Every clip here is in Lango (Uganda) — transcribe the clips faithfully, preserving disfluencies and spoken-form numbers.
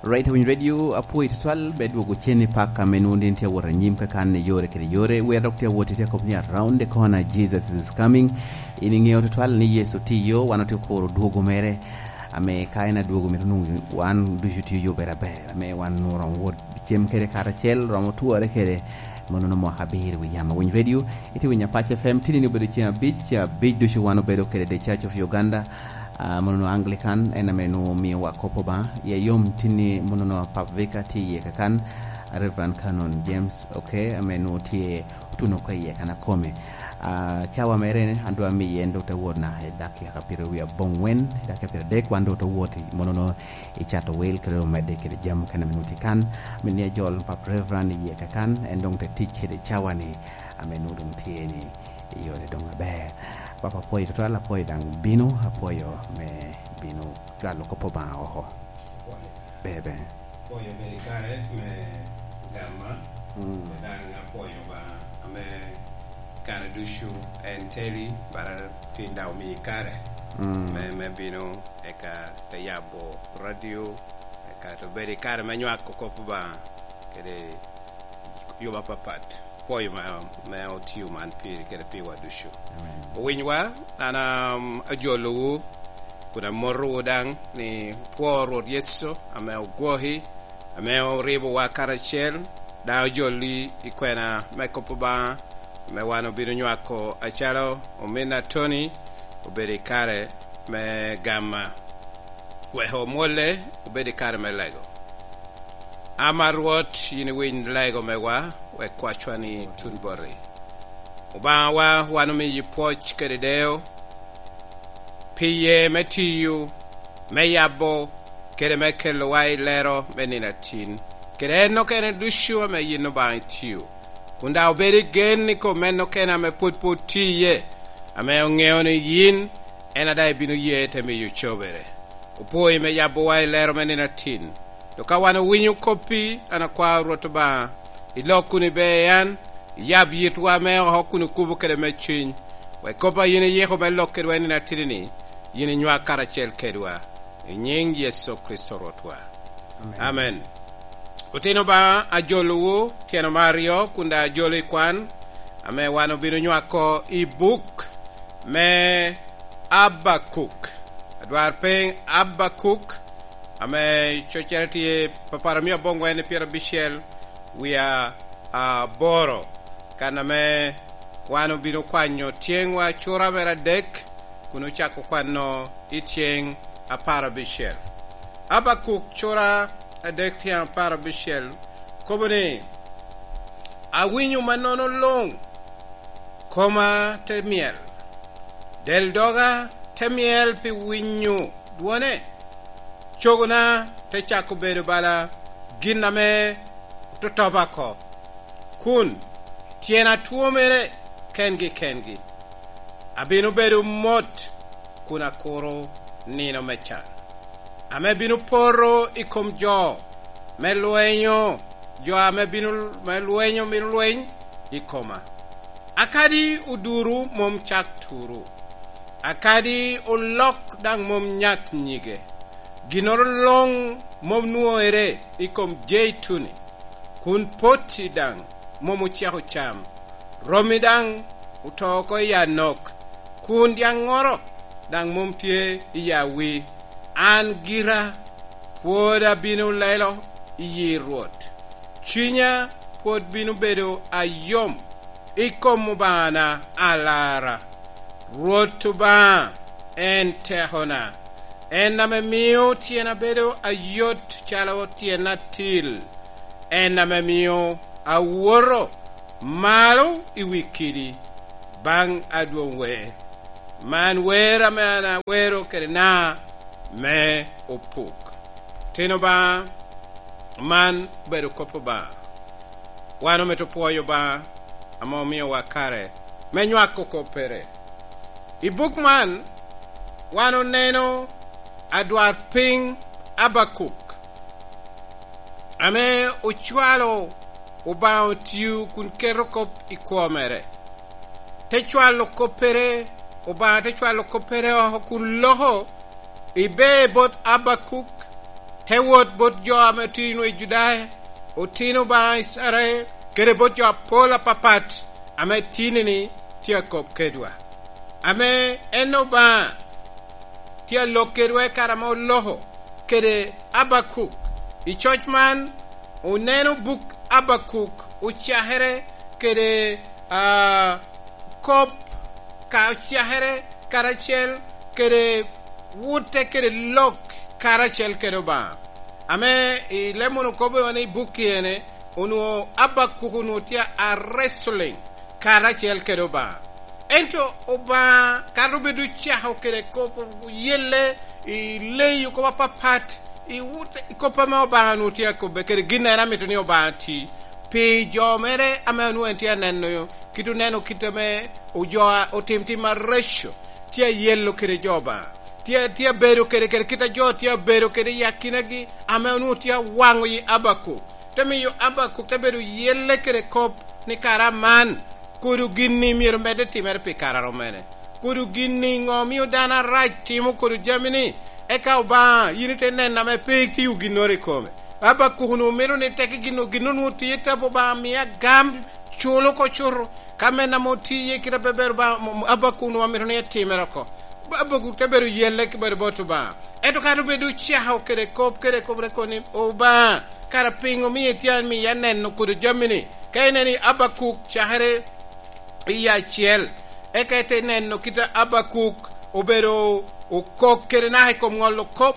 Right, Winyo Radio, apwoyi tutwal, be dwogo cen i pak ame nwoŋo din tye awot anyim kakan i yore kede yore. Wer dok tye awot i tye akop ni Around the Corner, Jesus is Coming. In iŋeo tutwal ni Yecu tye i yo, wan otye okuro dwogo mere. Ame ka en adwogo, mito nwoŋo wan ducu tye yo bed aber, ame wan nwoŋo romo wot cem kede karacel, romo tware kede monono mwaka abiro wi yam. Awiny Radio, itye winyo Apac F M, tini ni obedo ceng abic, ceng abic ducu wan obedo kede The Church of Uganda, ah, monono Anglican, en ame nwoŋo omiowa kop Obaŋa. Iya yom tini monono Pap Vika tye iye kakan, Reverend Canon James, okay, ame nwoŋo tye otuno oko iye kan akome. Ah, cawa mere ni, an dwa miye en dok te wot naka i dakika piero wie aboŋwen, i dakika piero adek, wan dok te wot i monono i cato wil kede omedde kede jami mukene ame nwoŋo tye kan. Min ni ajol Pap Reverend iye kakan, en doŋ te tic kede cawa ni, ame nwoŋo doŋ tye ni i yore doŋ aber. Papa, apwoyo tutwal, apwoyo daŋ bino, apwoyo me bino cwalo kop Obaŋa oko. Bebe. Apwoyo bed i kare me gamma, mm, daŋ apwoyo Obaŋa ame kare ducu en teli, bara tin daŋ omio kare, mm, me, me bino, eka te yabo radio, eka te bedo i kare me nywako kop Obaŋa kede yuba apapat. Pwoyo ma, me otio man piri kede piwa ducu. Amen. Owinywa, an, um, ajolowu, kun amotowu daŋ ni opwo Rwot Yecu ame ogwoki, ame oribowa karacel, daŋ ojoli i kwena me kop Obaŋa, ame wan obino nywako acalo ominna Tony obedo i kare me gamma. Wek omwolle obed i kare me lego. Ama Rwot, yin iwiny lego mewa, wek kwacwa ni tun boti. Obaŋawa, wan omiyi pwoc kede deyo, pi ye me tiyo, me yabo, kede me kelowa i lero me nino atin, kede en okene ducu ame yin Obaŋa itio, kun daŋ obedo i gen i kom en okene ame pwod pe otio iye, ame oŋeo ni yin en a daŋ ibino ye te miyo cobere. Opwoi me yabowa i lero me nino atin. Dok ka wan owinyo koppi, an akwao Rwot Obaŋa, ilok kun iber an, iyab yitwa me oko kun okubo kede me cuny, wek kop a yin iyiko me lok kedwa i nino atidi-ni, yin inywak karacel kedwa. I nyiŋ Yecu Kricito Rwotwa. Amen. Amen. Otino Obaŋa, ajolowu tyeno me aryo, kun daŋ ajolo i kwan, ame wan obino nywako i buk me Abakuk. Adwarpiny Abakuk, ame coccere tye papara mia aboŋwen i pyerabicel wie aboro, kan ame wan obino kwanyo tyeŋwa cura mere adek, kun ocako kwano i tyeŋ apar abicel. Abakuk cura adek tyeŋ apar abicel kobo ni, "Awinyo mannono luŋ, koma te myel, del doga te myel pi winyo dwone, cogona te cako bedo bala gin ame ototoba oko, kun tyena twomere kengi kengi. Abino bedo mot kun akuro nino me can, ame bino poto i kom jo me lwenyo, jo ame bino, me lwenyo bino lweny i koma. Akadi oduru mom cak turu, akadi olok daŋ mom nyak nyige, ginnoro luŋ mom nwoŋere i kom jeituni, kun potti daŋ mom oceko cam, romi daŋ oto oko i anok, kun dyaŋŋoro daŋ mom tye i awi. An gira pwod abino lelo i yi Rwot, cunya pwod bino bedo ayom i kom Obaŋana alara. Rwot Obaŋa en tekona, en ame mio tyena bedo ayot calo tyen atil, en ame mio awoto malo i wi kidi baŋ adwoŋ wer. Man wer ame an awero kede na me opuk." Tin Obaŋa, man obedo kop Obaŋa. Wan omito pwoyo Obaŋa ame omiowa kare me nywako koppere. I buk man, wan oneno adwarpiny Abakuk, ame ocwalo Obaŋa otio kun keto kop i kwo mere. Te cwalo koppere, Obaŋa te cwalo koppere oko kun loko i ber bot Abakuk, te wot bot jo ame otino i Judaya, otino Obaŋa Icrael, kede bot jo apol apapat ame tini-ni tye akop kedwa. Ame en Obaŋa tye alok kedwa i kare ame oloko kede Abakuk. I coc man, oneno buk Abakuk ocakere kede, ah, kop ka ocakere karacel kede wutte kede lok karacel kede Obaŋa. Ame i leb munu kobo ni buk ene, onwoŋo Abakuk onwoŋo tye a wrestling karacel kede Obaŋa. Ento Obaŋa, kato bed ocako kede kop, yelle i leyi kop apapat, i wut, i kop ame Obaŋa onwoŋo tye akobbe kede gin en amito ni Obaŋa ti. Pi jo mere ame onwoŋo en tye aneno, kit oneno kit ame ojo a-, otim tim areco, tye ayello kede jo Obaŋa. Tye, tye abedo kede, kede kit a jo tye abedo kede i akinagi, ame onwoŋo tye awaŋo yi Abakuk. Te miyo Abakuk te bedo yelle kede kop ni kara man, kodo gin-ni myero medde timere pi kare a rom mene? Kodo gin-ni ŋo omio dano arac timo kodo jami-ni? Eka Obaŋa, yin ite neno ame pe itio ginnoro i kome. Abakuk onwoŋo mito ni teke gin, gin onwoŋo tye i tapo Obaŋa, mia gam, culo oko cuto. Ka men ame otiye kite a pe ber Obaŋa, mo-, mo-, Abakuk onwoŋo mito ni etimere oko. Abakuk te bedo yelle ki bedo bot Obaŋa. Ento ka doŋ bedo ocako kede kop, kede kop, te kobo ni, "Obaŋa, kara piŋo omio itye amiya neno kodo jami-ni?" Ka ineno i Abakuk cakere i acel, eka ite neno kit a Abakuk obedo okok kede naka i kom ŋolo kop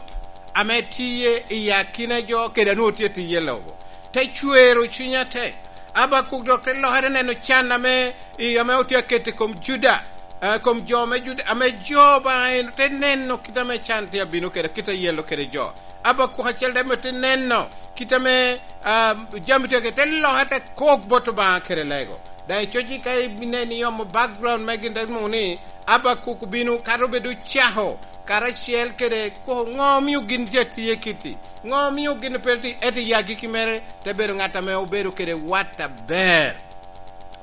ame tiye i akina jo kede a nwoŋo tye tiye lobo. Te cwero cunya te. Abakuk dok te lokere neno can ame, i, ame otye aketo i kom Juda, eh, kom jo me Juda, ame jo Obaŋa en te neno kit ame can tye abino kede, kit a yelo kede jo. Abakuk acel daŋ myero te neno kit ame, ah, jami tye kede, te loke te kok bot Obaŋa kede lego. Daŋ i coc-ci ka ineno iomo background me gin, te nwoŋo ni Abakuk obino, kadi obedo ocako karacel kede koko, ŋo omio gin tye atiye kiti? Ŋo omio gin pe ti-, ento i agikki mere te bedo ŋat ame obedo kede wat aber?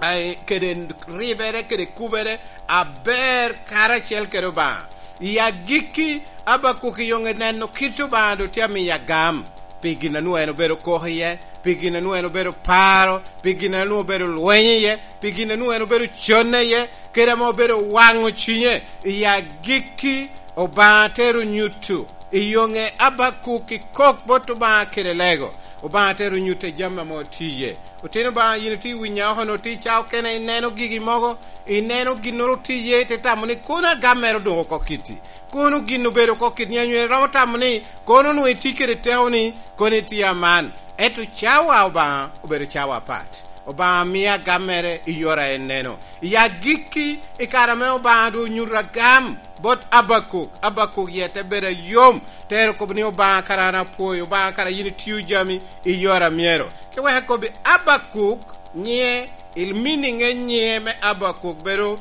Ai, kede ribere, kede kubere aber karacel kede Obaŋa. I agikki, Abakuk i yoŋe neno kit Obaŋa doŋ tye amiyo agam, pi gin a nwoŋo en obedo koko iye, pi gin a nwoŋo en obedo paro, pi gin a nwoŋo obedo lweny iye, pi gin a nwoŋo en obedo conne iye, kede ame obedo waŋo cinye. I agikki, Obaŋa tero nyuto i yoŋe Abakuk i kok bot Obaŋa kede lego. Obaŋa tero nyuto i jami ame otiye. Otino Obaŋa, yin itye winya oko, nwoŋo tye i cawa okene, ineno gigi mogo, ineno ginnoro tye iye, ite tamo ni, "Kono agam mere odoŋ oko kiti? Kono gin obedo oko kiti?" Ni anyweri romo tamo ni, "Kono nwoŋo itye kede teko ni, kono itye aman." Ento cawa Obaŋa obedo cawa apat. Obaŋa mio agam mere i yore a en neno. I agikki, i kare ame Obaŋa doŋ onyuto agam bot Abakuk, Abakuk yie te bedo ayom, te ero kobo ni, "Obaŋa, kara an apwoyo, Obaŋa, kara yin itio jami i yore a myero." Ki wek akobbi, Abakuk nyiŋe, il meaning e nyiŋe me Abakuk bedo,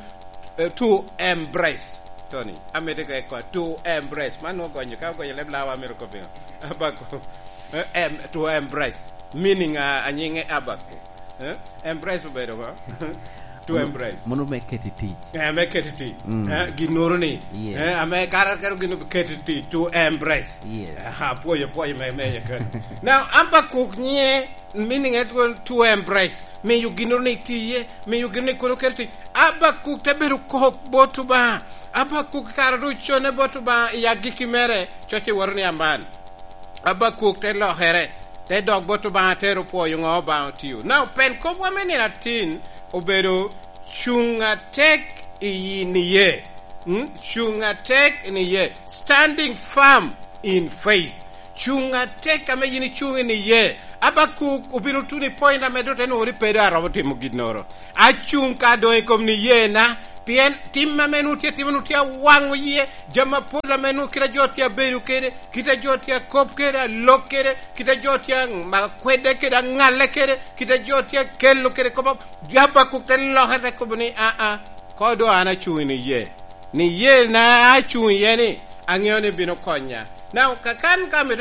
eh, to embrace. Tony, amito ka ikwa, to embrace. Man nwoŋo gonyo, ka ogonyo leb lawa, amito kobbi ŋo? Abakuk. Eh, em-, to embrace. Meaning a, a nyiŋe Abakuk. Eh? Embrace obedo ba? To embrace. Mono me keto i tic. Eh, me keto i tic. Mm. Eh, ginnoro ni. Yes. Eh, ame kara kero gin keto i tic, to embrace. Yes. Aha, pwoyo, pwoyo me, me ye kano. Now, Abakuk nyiŋe, meaning it was to embrace. Miyo ginnoro ni tiye, miyo ginnoro ni kono keto i tic. Abakuk te bedo kok bot Obaŋa. Abakuk kara doŋ ocone bot Obaŋa i agikki mere, coc iwato ni aman. Abakuk te lokere, te dok bot Obaŋa, te ero pwoyo ŋo Obaŋa otio. Now, pen kopwa me nino atin obedo cuŋ atek i niye. Mm? Cuŋ atek i niye. Standing firm in faith. Cuŋ atek ame yin icuŋ i niye. Abakuk obino tuno i point ame doŋ te nwoŋo ni pe doŋ aromo timo ginnoro. Acuŋ ka doŋ i kom niyena, pien tim ame nwoŋo tye atimo nwoŋo tye awaŋo yie, jami apol ame nwoŋo kite a jo tye abedo kede, kite a jo tye akop kede, alok kede, kite a jo tye amako kwede kede, aŋalle kede, kite a jo tye akelo kede kop a-, Abakuk te loke te kobo ni, "Aa, ko doŋ an acuŋ i niye. Niyena acuŋ iye ni, aŋeo ni bino konya." Now, kakan ka mito